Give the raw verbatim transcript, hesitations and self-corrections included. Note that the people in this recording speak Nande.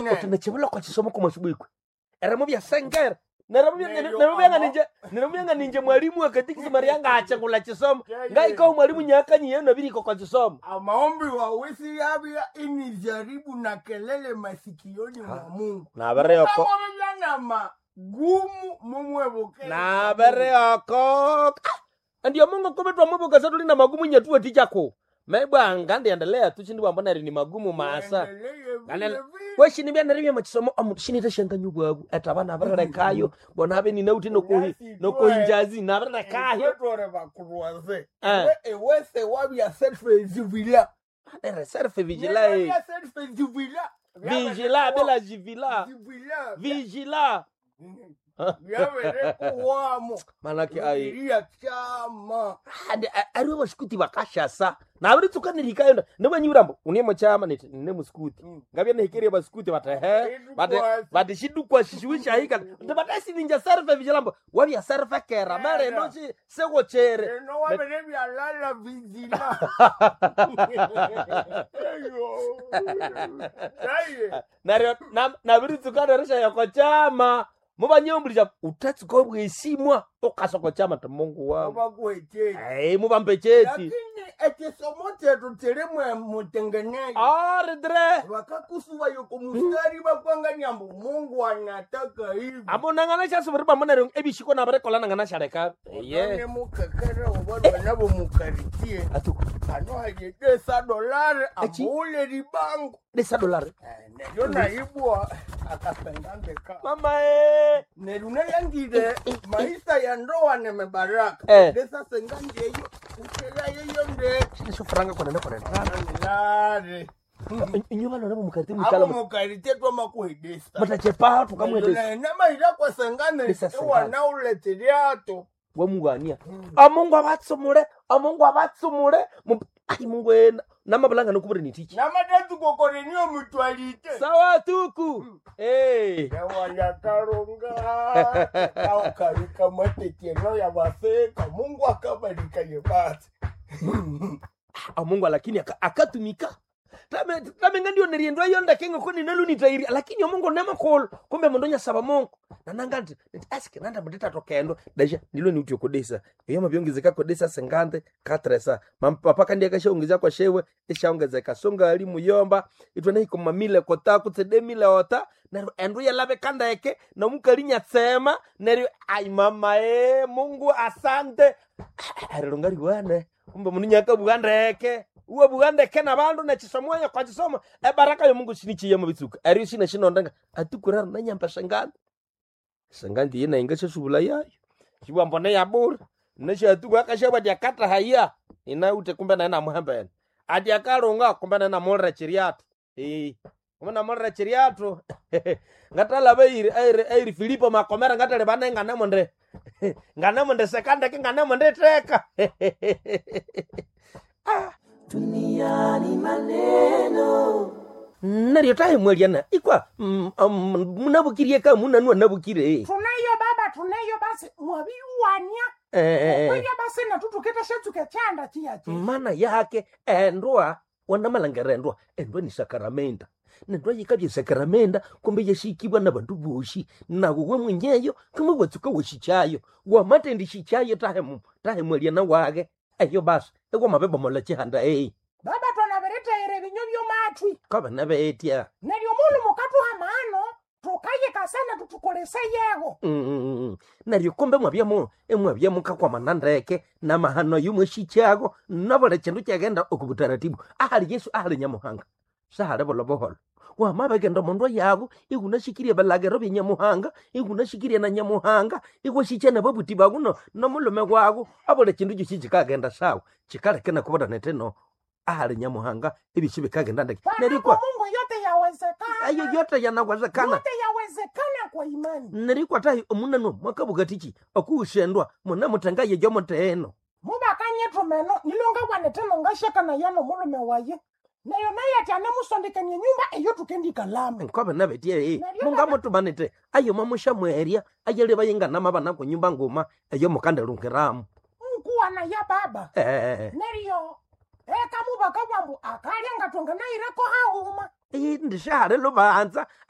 Uti Uti nechibulo kwa chisomo kwa mwasubikwe. Eremo bya sengera. Neremo bya Neryo neremo bya amo- ninje neremo bya ninje mwalimu akatikisi Maria ngachengula chisomo. Yeye. Ngaiko mwalimu nyakanyi yena biriko kwa chisomo. Amaombi wawesi yabya inijaribu na kelele masikioni mwa Mungu. Nabereyoko. Kama na magumu mumwebukele. Nabereyoko. Ndiyo Mungu kumbe twamubuka tuli na magumu nyatuwe tichako. Mebwa ngandiendelea tu chindi wambona ni magumu maasa. Endelee vile Ganela- vile. Weshini bya neribya machisomo omuntu shinita shanganyu bwabu etabana abarelekayo bona abe ninauti nokohi nokohinjazi nabarelekayo Twetwere bakurwaze. Eh. Ewe- Ewese wabya self-juvila. Nere self vigila eh. Wabya self-juvila. Vigila bila jivila Juvila. vigila Byaberekuwamo. manake ai Iria chama. Andi- a- ariwe basikuti bakashasa nabiritsukanirikayo nibwanyiburambo une muchama niti nine musikuti Mm. ngabya nihikerie basikuti bati he bati Idukwa- bati shidukwa shishiwishahika ndi batasininja serfe vigilambo wabya serfe kera mere Kera. nochi segocherere Eno wabere byalala vizila. Eyo. Aye. neryo nabiritsuka nerishaya chama mubanyombulisha utatsuka obwesimwa ukasoko chama ti Mungu wangu Obakuweteki. ei mubambe cheti Lakini ekisomo kyetu kirimu mutengenezo. aridre Vakakusuva yoko mustari vakwanganya mbu Mungu anataka hivi. amonangana shasubiri pamoneryo ebishiko nabirekola nangana shaleka ye One mukekere obalwa nabo mukaritie. atuku Ano hayedesa dolari Echi? ambule libango. desa dolari Eh, Neryo naibwa akasengandeka. mama e Neryo nayangire maisha ya ndoa ni mebaraka. Eh. Desa sengandeyo ukelayeyo ndeke. nisho franga konene konene Lare. inyuba lona mukariti Abo mukala mukaritie twamakuhedesa. mutachepa tukamwetesa Namaira kwasengane Desa sengane. iwanauleteriato. wamugania amungu abatsumule amungu abatsumule Mu- ai Mungu ena namabulanga nokubure nitichi Namatatukokorenio mutwalite. sawa tuku eh Yawalyakalonga kaukalika mateteno ya baseka Mungu akabalika yebasi. amungu lakini aka- akatumika Tame- tamenga ndio niriendwa iyo ndakenga ko ninalunitairi lakini omungu nemakolo kumbe mundu nyasaba Mungu nananga nti nti asike nanda munditatokaendo dasha ndilo niuti okodesa iyo mabyongezeka kodesa sengande katresa mampapa kandi akashaongeza kwa shewe eshaongezeka songa ali muyomba itwe naikomamile kota kutsedemile ota neryo endu yalabe kandeke nomukali nyatsema neryo ai mama e Mungu asante arilonga riwane kumbe mundu nyakabugha ndeke uwabugha ndeke nabandu nechisomo kwa chisomo ebaraka yo Mungu sinichiya mubitsuka eryo shina shinondenga atukurara nanyamba sengandi sengandi yina inga shasubula yayo shibwambone yabura neshatuku akashabwa dyakata haya inaute kumbe naye namuhembene ati akalunga kumbe naye namulira chiryatu ee kumbe namulira chiryatu ngatalaba eiri eiri eiri Filipo makomera ngatali bane nganemunde nganemunde sekandeke nganemunde teka Duniani maneno neryo tahimweliana ikwa mm, um, munabukirie ka munanua nabukire Tunayo baba tunayo basi mwabiuwania. eh, Kwenya basi natutuketa shetsuke chanda chiyachi. mana yake endwa wanamalangera endwa endwa ni sakaramenda nendwa yikabya sakaramenda kumbe yashikibwa na bandu boshi nawe we mwenyeyo kumbe watsuka washikyayo wamatendi shikyayo tahemu tahemweliana wage eyo basi ekwamabebomola chihanda ei Baba twanabiretere binyo byomatwi. kabana betya Neryo mulu mukatuha mano tukayika sana tutukolese yego. Mm, neryo kumbe mwabyamo emwabyamo kakwamana ndeke namahano yumweshikyago nabuli kindu kyagenda oku butaratibu ahali Yesu ahali Nyamuhanga sahali bulo buholo wamabegenda omundu yago igunashikirie bilagiro bya Nyamuhanga igunashikirie na Nyamuhanga iwashikya nababuti bagu no nomulume wago abuli kindu kyosi kikagenda sawa kikaleke nakubona neteno ahali Nyamuhanga ebisi bikagenda ndeke neryo Panapo kwa Mungu yote yawezekana. ayo yote yanawezekana Yote yawezekana kwa imani. nerikwatahi omunano mwakabugatichi okuushendwa muna mutenga yejo muteeno Mubakanye tumeno nilonga bwaneteno ngashaka yano mulume waye. Neyo naye ati anemusondekanie nyumba eyo tukendikalame. nkobe nabetie Neryo mungamutumanite ayo mamushamwerya ayali bayinganama bana kunyumba nguma eyo mukandelungiramu Nkuwana ya baba. eh Neryo eka mubaka bwambu akalya ngatonga naireko hauma. ndishahali lubanza.